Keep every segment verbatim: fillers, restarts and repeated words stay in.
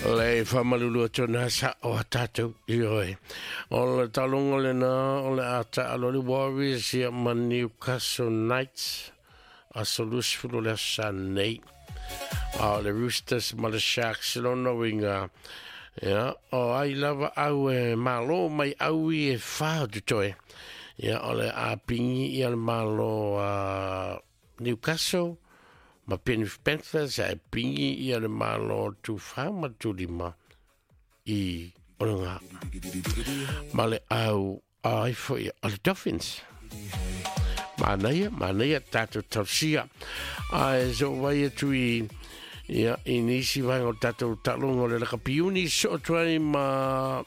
Le whamalulu atu nā sa o a tātou i oe. O le talonga le nā o le ata alo le Warriors ia ma Newcastle Knights a solusfulu le asa nei. A o le Roosters ma le Sharks lona winga. Ia, o ai lava au e malo mai au i e whā tu toe. Ia, o le apingi ia le malo a Newcastle ma Penrith Panthers a pingi ia le malo tu whā ma tu lima i olonga. Ma le au ai foi o le Dolphins. Manaia, manaia tātou tausia. Ai so vai atu i ia i nisi vaenga o tātou talonga o le lakapiuni so tuai ma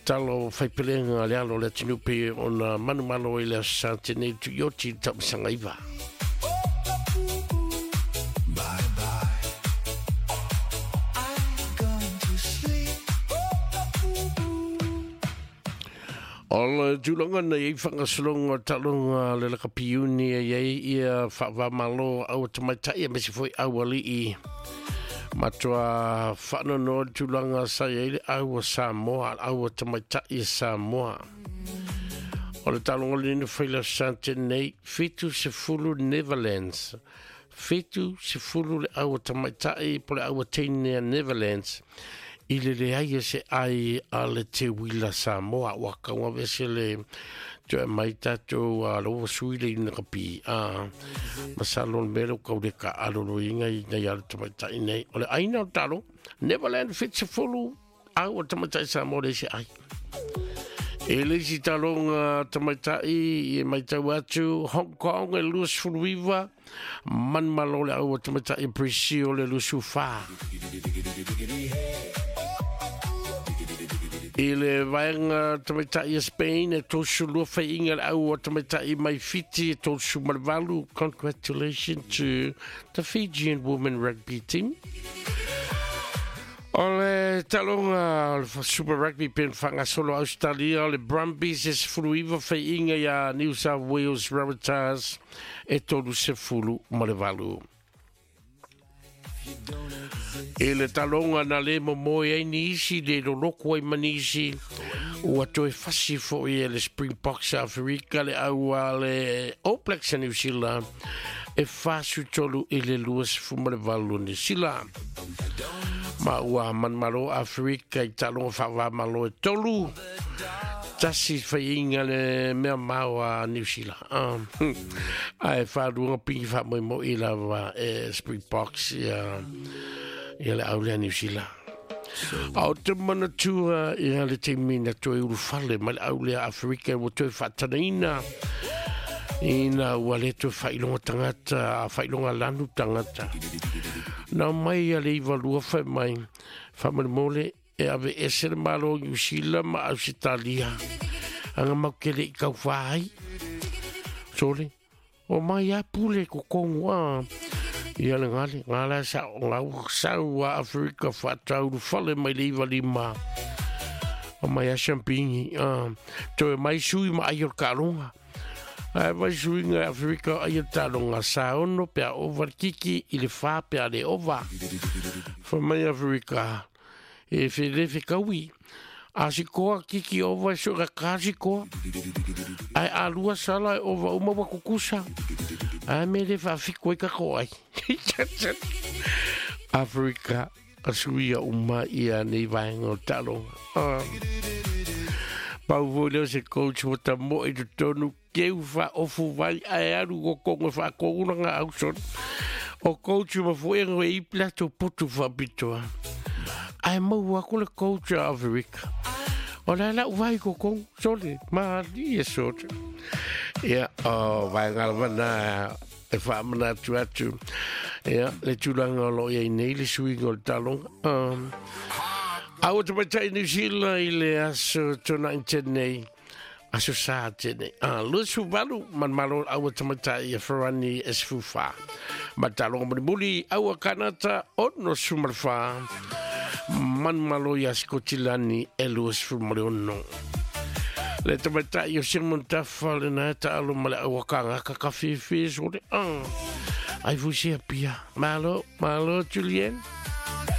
talo whaipelenga le alo le tinupe o na manumalo i le asante nei tu ioti tamasanga iwa. O le tūlanga nei i whangasolonga talonga le lakapiuni e iei ia whaavamalo au tamaitai e mesi foi auali i matua whaanono tūlanga sa iei le aua Samoa, aua tamaitai e Samoa. O le talonga le nina whaila sante nei, whitu se fulu Netherlands. Whitu se fulu le aua tamaitai po le aua teinea Netherlands. I le leai e se ai a le te wila Samoa waka wa vese le toe mai tātou a loa sui le ina kapi a masalo le melo kau le ka alolo inga i nei ala tamaitai nei o le aina o talo Neverland fits fulu au o tamaitai Samoa le se ai e le si talonga tamaitai e mai tau atu Hong Kong e luas fuluiva man malo le au o tamaitai Brazil le lusu wha. I le vaenga tamaitai e Spain e tōsu lua whainga le au o tamaitai mai Fiti e tōsu malvalu. Congratulations to the Fijian Women Rugby Team. O le talonga o le Super Rugby pen whangasolo Australia o le Brumbies e sefulu iwa whainga ia New South Wales Rabbitohs e tolu sefulu malevalu. E le talonga na le momoe ai nisi le loloko ai manisi ua toe fasi foi e le Springboks Afrika le aua le All Blacks a New Zealand e fasu tolu i le lua sefuma le valu New Zealand. Ma ua manmalo Afrika i talonga whaavamalo e tolu tasi whainga le mea maua New Zealand. Um, ai whaarunga pingi wha moi i lava e Springboks ia ia le aulea New Zealand. Au te manatua ia le te mina toe urufale ma le aulea Afrika ua toe whaatanaina ina ua le toe whailonga tangata, whailonga lanu tangata. Nā mai a le iwa lua whai mai, whamale e ave ese le malo New Zealand ma Australia. Anga maukele i kau whai. Sole, o mai a pule ko kongu a. Ia le ngale, ngala sa o ngau sau a Afrika whatauru whale mai le iwa lima. O mai a champingi. Toe mai sui ma ai o kalonga. Ai mai sui nga Afrika ai o talonga sa ono pea ova kiki i le wha pea le ova. Wha mai Afrika. E whele whekaui. A si koa kiki ova so ka kasi koa. Ai a lua sala e ova uma wa kukusa. Ai me le whawhiko e kako ai. Afrika a suia uma ia nei vaenga o talonga. Uh. Pau voi leo se coach o ta mo i tonu keu wha ofu vai ai aru o kongo wha konguna ngā auson. O coach ma fo e i plato putu whapitoa. Ai mau aku le coach a Afrika. O la la vai ko kong sole ma li e sote. Ia o vai ngalwana e whaamana atu atu. Ia le tūlanga o lo ia i nei le suinga o le talonga. Um, Au te matai New Zealand i le aso tōna i tēnei. Aso sā tēnei. Ah, lusu valu man malo au te matai e wharani e sfufa. Ma talonga muli muli au a Kanata ono sumarwha. Man malo ia Skotilani e luas fumale ono. Le tamaitai o Simon Tafa le nā ta alo ma le awakanga ka kawhiwhi sore. Ah. Ai fusia pia. Malo, malo Julien.